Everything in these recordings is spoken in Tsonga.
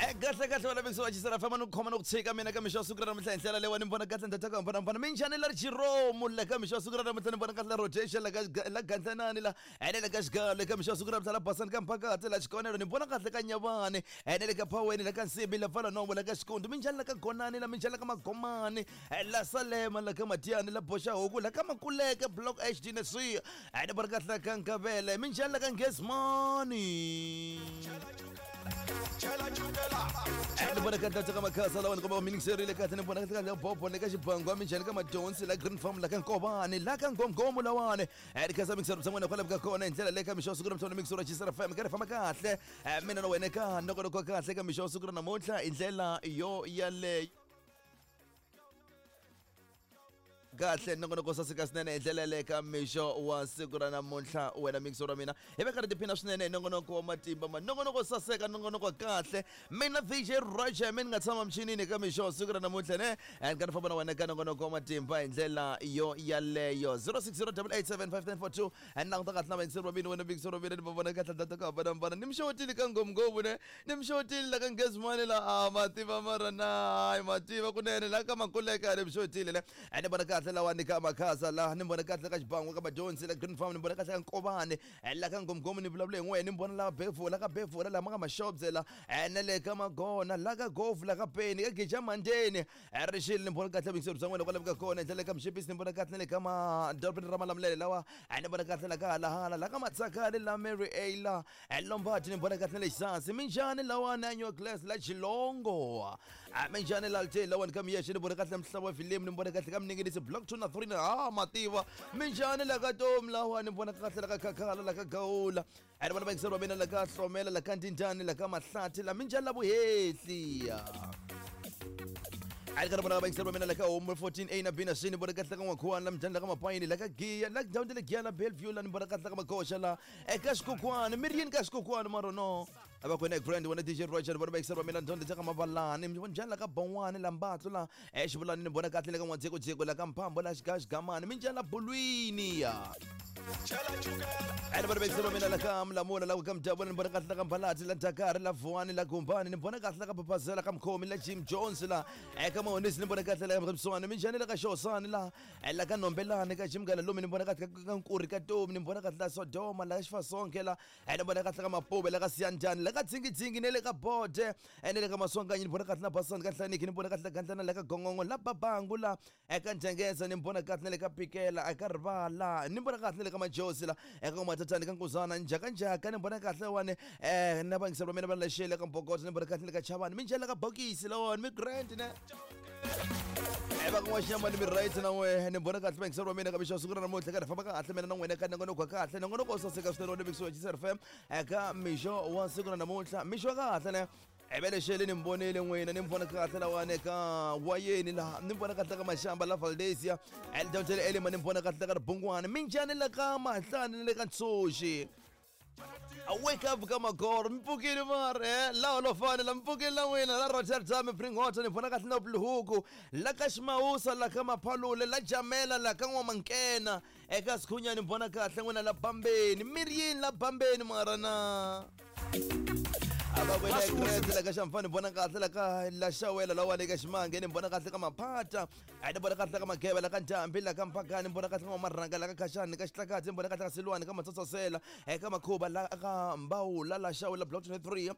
Kahle kahle wena mixo wa Chisara fama ni ku khoma ni ku tshika mina ka mixo wa siku ra namuntlha hi ndlela leyiwani ni vona kahle ndata ku hambanahambana minjhani la Jerome la ka mixo wa siku ra namuntlha ni vona kahle la rotation la ka la Gandlanani la ene le ka xigalo le ka mixo wa siku ra namuntlha la Basani ka Mphakati la Xikonelo ni vona kahle ka Nyavani ene le ka Phaweni la ka Nsimbi la Pfalanomo la ka Xikundu minjhani la ka Gonani la minjhani la ka Magomani la Salema la ka Matiani la Boxahuku la ka Makuleke Block HD na C ene vona kahle la ka Nkavele minjhani la ka Nghezimani ni vona kahle ka makhasa lawa ni komba mingiserile kahle ni vona kahle bobo le ka xibangwa minjhani ka madonsi la Green Farm la ka Nkovani la ka Ngomgomo lawani ri khensa mixero bya n'wina kwalaho ka kona hi ndlela leyi ka mixo wa siku ra namuntlha mixero Chisara FM ka ri famba kahle mina na wena ka nongonoko wa kahle ka mixo wa siku ra namuntlha hi ndlela yo yaleyo kahle nongonoko saseka swinene hi ndlela yaleyo ka mixo wa siku ra namuntlha wena mixo ra mina hi va karhi tiphina swinene hi nongonoko wa matimba ma nongonoko saseka nongonoko wa kahle mina VJ Roger mi ni nga tshama michinini ka mixo wa siku ra namuntlha ne and ka ni famba na wena ka nongonoko wa matimba hi ndlela yo yaleyo 0608875942 and languta kahle na vayingiseri va mina wena mixo ra mina ni va vona kahle data ku hambanahambana ni mixotile ka ngomnghomu ne ni mixotile la ka ngezimani la a mativa mara na hayi mativa kunene la ka makuleka ni mixotile le ni vona kahle lawani ka makhasa la ni vona kahle ka xibango ka madyondzi la Green Farm ni vona kahle ka Nkovani la ka Ngomgomo ni vulavula hi n'wehe ni vona la Bevula ka Bevula la ma ka Mashobye la na le ka Magona la ka Gofu la ka Peni ka Geja Mandeni Rixile ni vona kahle vuyingiseri bya n'wina kwalaho ka kona hi ndlela ka Mxipisi ni vona kahle na le ka madorobeni ra Malamulele lawa ni vona kahle la ka Halahala la ka Matsakani la Mary A la Lombard ni vona kahle na le Xisasi minjhani lawani a New Glass la Xilongo minjhani la Lite lawani ka Miyexe ni vona kahle mhlava wa filimi ni vona kahle ka Mninginisi block 2 na 3 na mativa minjhani la ka Tomi lawa ni vona kahle la ka Khakhala la ka Gawula ni vona vayingiseri va mina la ka Hlomela la ka Ndindani la ka Mahlathi la minjhani la Vuhehli a ri karhi vona vayingiseri va mina la ka Homu 14 A na B na C ni vona kahle ka N'wakhuwani la minjhani la ka Mapayini la ka Giya la ndhawu ta le Giya la Bellevue la ni vona kahle ka Magoxa la eka xikokwani mi ri yini ka xikokwani mara no a va kona grand wena DJ Roger vona vayingiseri va mina ndhawu ta ka Mavalani mi vona njhani la ka Bon'wani la Mbatlu la exivulani ni vona kahle le ka N'wadzekudzeko la ka Mphambo la Xigaxigamani minjhani la Bulwini ya ene vona vayingiseri va mina la ka Mlamula la ka Mdavula ni vona kahle la ka Mbalati la Dakar la Vuwani la Gumbani ni vona kahle la ka Phaphazela ka Mkhomi la Jim Jones la eka Mahonisi ni vona kahle la ka Mswani minjhani la ka Xosani la la ka Nombelani ka Jim Galalumi ni vona kahle ka Nkuri ka Tomi ni vona kahle la Sodoma la ka Xifasonke la ni vona kahle ka Mapuve la ka Siyandhani la ka Dzingidzingi ne le ka Bode ne le ka Maswanganyi ni vona kahle na Basani ka Nhlaniki ni vona kahle la Gandlana la ka Gongongo la Babangu la eka Njengeza ni vona kahle na le ka Pikela eka Rivala ni vona kahle na le ka Majosi la eka Matatani ka Nkuzana Njhakanjhaka ni vona kahle wani na vayingiseri va mina va lexele ka Mbokoto ni vona kahle le ka Chavani minjhani la ka Bokisi lawani mi grand ne va kun'wa xinyama ni mi right na n'we ni vona kahle vayingiseri va mina ka mixo siku ra namuntlha ka ri famba kahle mina na n'wina ka nongonoko wa kahle nongonoko wo saseka swinene wa Mixo wa Chisar FM eka mixo wa siku ra namuntlha mixo wa kahle ne evelexele ni mi vonile n'wina ni mi vona kahle lawani ka wayeni laha ni mi vona kahle ka Maxamba la Valdezia elidawutele Elima ni mi vona kahle ka Ribungwani minjhani la ka Mahlani ni le ka Ntshuxi wake up ka Magoro mi pfukile mara laha Holofani la mi pfukile la n'wina la Rotterdam Bringwater ni vona kahle na Bulhuku la ka Ximawusa la ka Maphalule la Jamela la ka N'wamankena eka Sikhunya ni vona kahle n'wina la Bambeni mi ri yini la Bambeni mara na abakwena la ka Xamfani ni vona kahle la ka la Xawela la wale ka Ximange ni vona kahle ka Maphata ni vona kahle ka Mageva la ka Ntambi la ka Mphakani ni vona kahle ka Marhanga la ka Khaxani ka Xitlakadzi ni vona kahle ka Silwani ka Matsotsosela eka Makhuba la ka Mbawula la Xawela block 23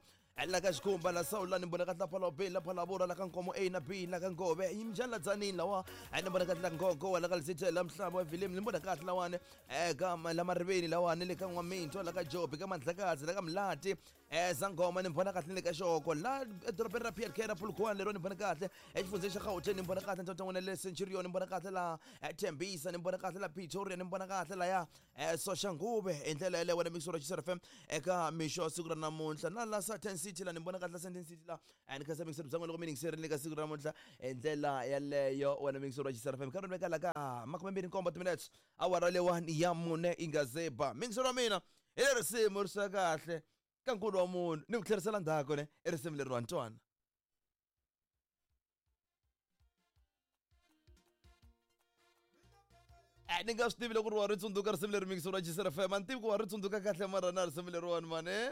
la ka Xikhumba la Sawula ni vona kahle la Phalobeni la Phalabura la ka Nkomo A na B la ka Ngove yimjani la Dzanini lawa ni vona kahle la Ngongo la ka Lisithela la Mhlaba wa Vilimi ni vona kahle lawani eka la Mariveni lawani le ka N'waminto la ka Jobi ka Mandlakazi la ka Mlati Zangoma ni vona kahle ni le ka Xoko la edorobeni ra PLK ra Polokwane lero ni vona kahle exifundzheni xa Gauteng ni vona kahle ntsontsongo na le Centurion ni vona kahle la Tembisa ni vona kahle la Pretoria ni vona kahle laya Soshanguve hi ndlela yaleyo wena mixo ra Chisar FM eka mixo wa siku ra namuntlha na la Sandton City la ni vona kahle la Sandton City la and khensa mixo bya n'wina loko mi yingiserile ka siku ra namuntlha hi ndlela yaleyo wena mixo ra Chisar FM ka ri veka la ka 27 minutes awara leyiwani ya mune yi nga ze ba mixo ra mina hi le risimu ri swa kahle ka nkulu wa munhu ni ku tlherisela ndzhaku ne i risimu leriwani twana ni nga swi tivi loko ri wa ri tsundzuka risimu leri mixo ra Chisar FM a ni tivi ku wa ri tsundzuka kahle mara na risimu leriwani mani.